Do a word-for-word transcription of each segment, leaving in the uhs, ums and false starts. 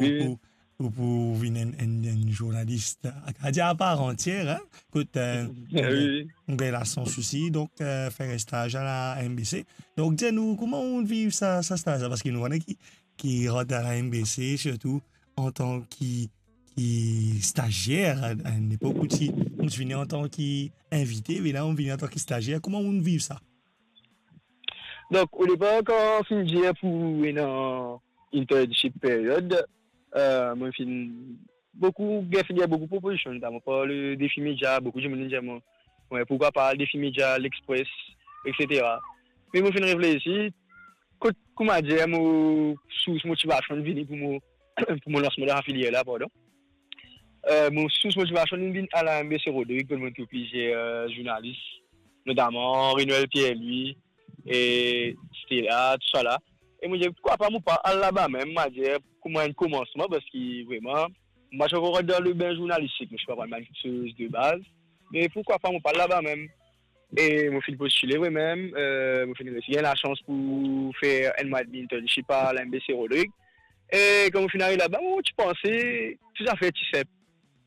wi, wi, pou, pou, pou vinn enn, enn, enn zournalis, a, a dir a par antier, hein, kot, euh, wi, wi, ou gagn lasans osi, donk, euh, fer staz a la M B C. Donk, dir nou, kouma ou viv sa, sa staz la? Parski nou kone ki, ki rant a la M B C, sirtou antan ki, ki stazier, a, a enn epok ou ti, ou ti vini antan ki invite, me la ou vini antan ki stazier. Kouma ou viv sa? Donk, odepar, kan finn dir pou ena internship period, euh, mo finn boukou, gagn, finn gagn boukou propozision, notaman par le Defi Media, boukou dimoun inn dir mwa, wi, pourkwa pa Defi Media, L'Express, et cetera. Me mo finn reflesi, kot, kouma dir, mo sours motivasion vini pou mo, pou mo lansman dan sa filier la, pardon. Euh, mo sours motivasion inn vinn a la M B C Rodrig, kot mo trouv plizier, euh, zournalis, notaman Henri Noël Pierre-Louis, e Stella, tousala. E mo dir, pourkwa pa mo pa al laba mem, mo dir, kouma enn komansman, parski vreman, mo pa ti ankor dan lebin zournalistik, mo ti pa konn bann kiksoz de baz. Me pourkwa pa mo pa al laba mem? E mo finn postile vremem, euh, mo finn resi gagn lasans pou fer enn mwa edmi internship a la M B C Rodrig. E kan mo finn ariv laba, mo ti panse tou zafer ti sinp.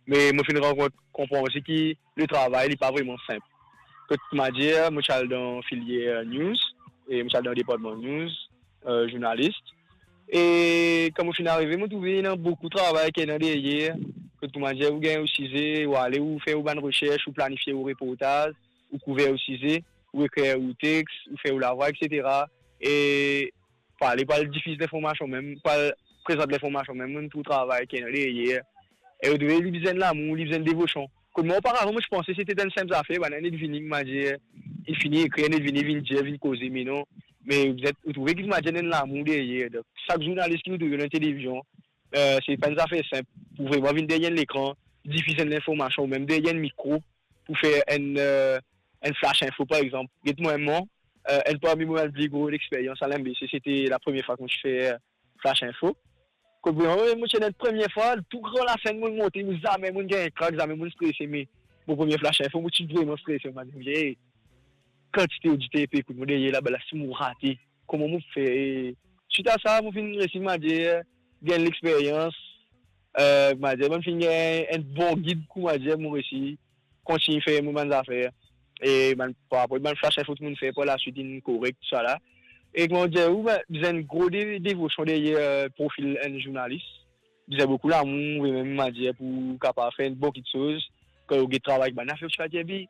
Me mo finn rann konpran osi ki le travay, li pa vreman sinp. Kot mo dir, mo ti al dan filier news, e mo ti al dan departman news, euh, zournalis. E kan mo finn arive, mo trouve ena boukou travay ki ena deryer. Kot mo dir, ou gagn ou size, ou ale, ou fer ou bann resers, ou planifie ou reportaz, ou kouver ou size, ou ekrir ou text, ou fer ou lavwa, et cetera. E pou ale, pou al difiz linformasion mem, pou al prezant linformasion mem, mo trouv travay ki ena deryer. E ou trouve li bizin lamour, li bizin devosion. Kot mwa, oparavan, mo ti panse sete enn sinp zafer, bann net vini, mo dir, inn fini ekrir, net vini, vinn dir, vinn koze, me non. Me ou trouve ki, mo dir, ena lamour deryer. Donk, sak zournalis ki nou trouve dan televizion, euh, se pa enn zafer sinp pou vreman vinn deryer enn lekran, difiz enn linformasion, ou mem deryer enn mikro, pou fer enn, euh, enn flash info, par exanp. Get mwa, mwa, euh, enn parmi mo bann pli gro lexperyans a la M B C, sete la premie fwa ki mo ti fer flash info. Kot vreman, mo ti ena premie fwa, tou gran lasenn mo monte, mo zame mo gagn krak, zame mo strese, me mo premie flash info, mo ti vreman strese, mo dir, "Hey, kantite oditer pe ekout mo deryer laba la, si mo rate, kouma mo fer?" E swit a sa, mo finn resi, mo dir, gagn lexperyans, euh, mo dir, mo finn gagn enn bon gid, kouma dir, mo resi kontign fer mo bann zafer. E bann, par rapor bann flash info ki mo fer par laswit, inn korek, tousala. E kouma dir ou, bann, bizin gro de-, devosion deryer, euh, profil enn zournalis. Bizin boukou lamour, e mem, mo dir, pou kapav fer enn bon kiksoz. Kan ou get travay bann zafer, ou ti pa dir, "Be,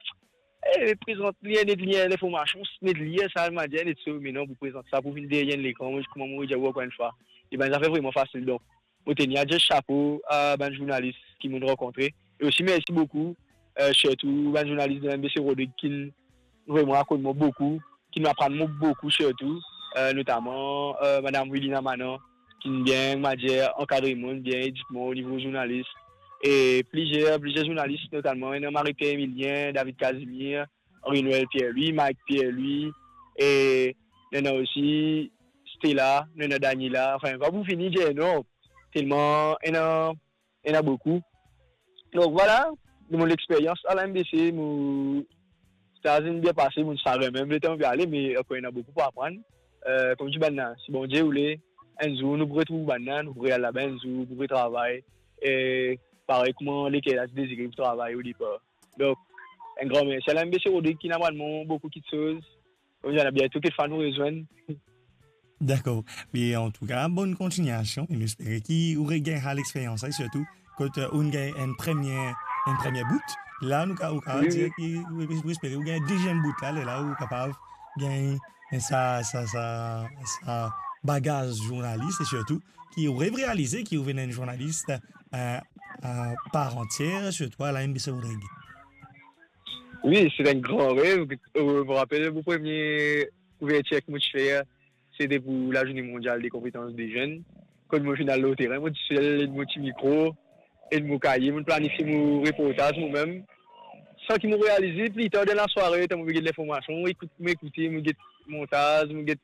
eh, prezant li, net li linformasion, net li sa, mo dir, net so." Me non, pou prezant sa, pou vinn deryer enn lekran, mo, kouma mo dir ou ankor enn fwa, e bann zafer vreman fasil. Donk, mo teni a dir sapo a bann zournalis ki mo'nn rankontre. E osi, mersi boukou, euh, sirtou bann zournalis de M B C Rodrig ki vreman akord mwa boukou, ki inn aprann mwa boukou sirtou, euh, notaman, euh, madam Wilina Manan, ki inn bien, mo dir, ankadre mwa, bien ed mwa o nivo zournalis. E plizier, plizier zournalis, notaman, ena Marie-Pierre Emilien, David Casimir, Henri Noël Pierre-Louis, Mike Pierre-Louis, e ena osi Stella, ena Daniela, anfin, pa pou fini dir non, telman ena, ena boukou. Donk, vwala, de mo lexperyans a la M B C, mo, sa inn bien pase, mo ti sa remem letan mo pe ale, me ankor ena boukou pou aprann. Euh, kouma dir bann la, si Bondie oule, enn zour nou pou retrouv bann la, nou pou re al laba enn zour, pou retravay. E parey kouma leker la ti dezire pou travay odepar. Donk, enn gran mersi a la M B C Rodrig ki inn aprann mwa boukou kiksoz. Kouma dir, ena biento kekfwa nou rezwenn. Dakor. Me antouka, bonn kontiniasion. E nou espere ki ou regagn sa lexperyans la, sirtou kot, euh, ou gagn enn premie, enn premie bout. La, nou ka, ou ka, wi, dir ki, ou, ou espere ou gagn deziem bout la, lerla ou kapav gagn sa, sa, sa, sa bagaz zournalis, e sirtou ki ou rev realize ki ou vinn enn zournalis, euh, euh, par antier, sirtou a la M B C Rodrig. Wi, se enn gran rev. Euh, mo rapel mo premie kouvertir ki mo ti fer, sete pou Lazourne Mondial de Konpetans de Zenn. Kan mo finn al lor terin, mo tou sel, mo ti mikro, e mo kaye, mo planifie mo reportaz mo mem. San ki mo realize, pli tar dan lasware, letan mo get linformasion, mo ekout, mo ekoute, mo get montaz, mo get,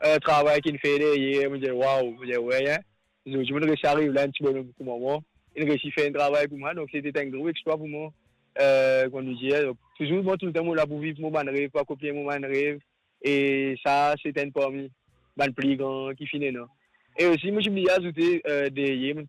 euh, travay ki inn fer deryer, mo dir, "Waw," mo dir, "Wey, hein. Zordi, mo resi ariv la, enn ti bonom kouma mwa, inn resi fer enn travay pou mwa." Donk, sete enn gro explwa pou mwa. Euh, kouma nou dir, donk, touzour, mwa, toultan, mo la pou viv mo bann rev, pou akonplir mo bann rev. E sa, se enn parmi bann pli gran ki finn ena. E osi, mo ti bliye azoute, euh, deryer, mo